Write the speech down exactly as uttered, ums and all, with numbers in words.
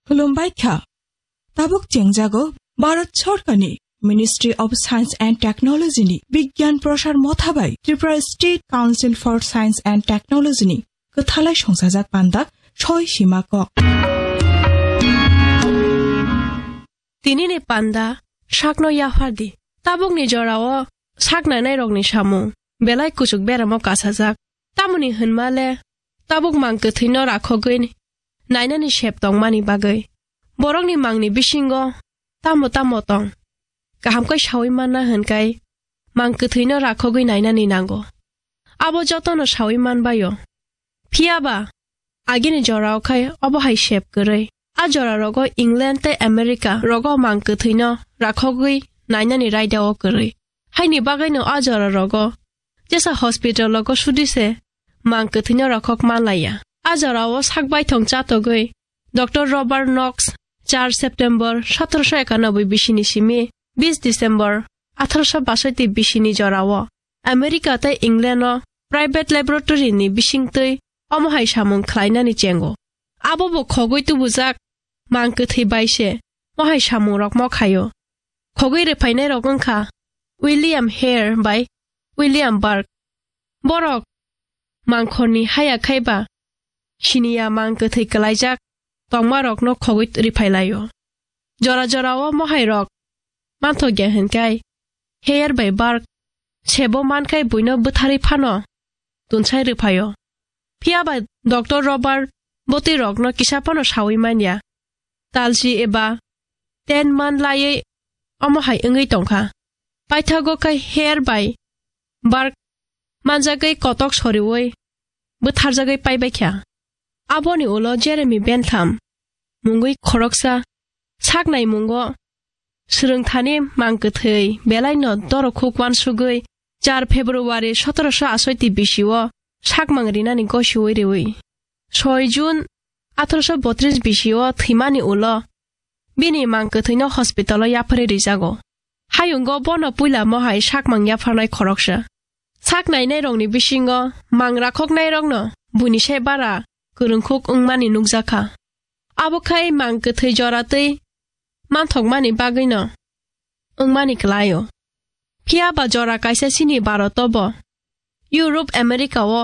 Khulumbai kha. Tabuk chengjago Bharat Sorkarni Ministry of Science and Technology ni Bigyan Prasar Motha bai Tripura State Council for Science and Technology ni kwthalai songsajak panda soi sima kok. Tini ni panda sakno yaphardi. Tabuk ni jorao sak nainai rokni samung belai kuchuk beramo kasajak. Tamoni hwnma le tabuk mang kwthwino rakhogwi nainani sep tongmani bagwi borokni mangni bisingo tamo tamo tong. Kaham khe saui manna hwnkhai mang kwthwino rakhogwi nainani nango. Abo jotono saui manbaio. Phiya ba, agini jorao khai obo hai sep kwrwi. A jora rogo England tei America rogo mang kwthwino rakhogwi nainani raida o kwrwi. Haini bagwino a jora rogo jesa hospital rogo sudi se mang kwthwino rakhok manlaiya. A jorao sak baithong chatogwi Doctor Robert Knox, char September sotoroso ekanoboi bisini simi bis December atharoso basoi twi bisini jorao America tei England o private laboratory ni bisingtwi omo hai samung khlainani chengo. Abo bo khogwi tubujak mang kwthwi bai se mo hai samung rok mo khaio. Khogwi rwphainai rok wngkha William Hare bai William Burke. Borok mangkhorni haya khaiba siniya mang kwthwi kwlaijak tongmarokno khogwi rwphailaio. Jora jorao mohairok manthokya hwnkhai Hare bai Burke sebo mankhai buino bwtharwi phano tunsai rwphaio. Phiya ba Doctor Robert bwtwi rokno kisa phano saui manya. Talsi eba ten man laiwi omo hai wngwi tongkha. Paithago khe Hare bai Burke manjagwi kotok soriui bwtharjagwi paibaikha. Aboni ulo Jeremy Bentham mungwi khoroksa sak naimungo swrwngthani mang kwthwi belaino dorokhuk uansugwi char February sotoroso asoi twi bisio sakmang rinani gosiui riui soi June atharoso botris bisio thwimani ulo bini mang kwthwino hospital o yapharwi rijago. Hayungo bono puila mohai sakmang yapharnai khoroksa. Sak nainairokni bisingo mang rakhoknairokno buini se bara kwrwngkhuk wngmani nukjakha. Abo khai mang kwthwi jora twi manthokmani bagwino wngmani kwlaio. Phiya ba jora kaisa chini Bharat o bo Europe, America o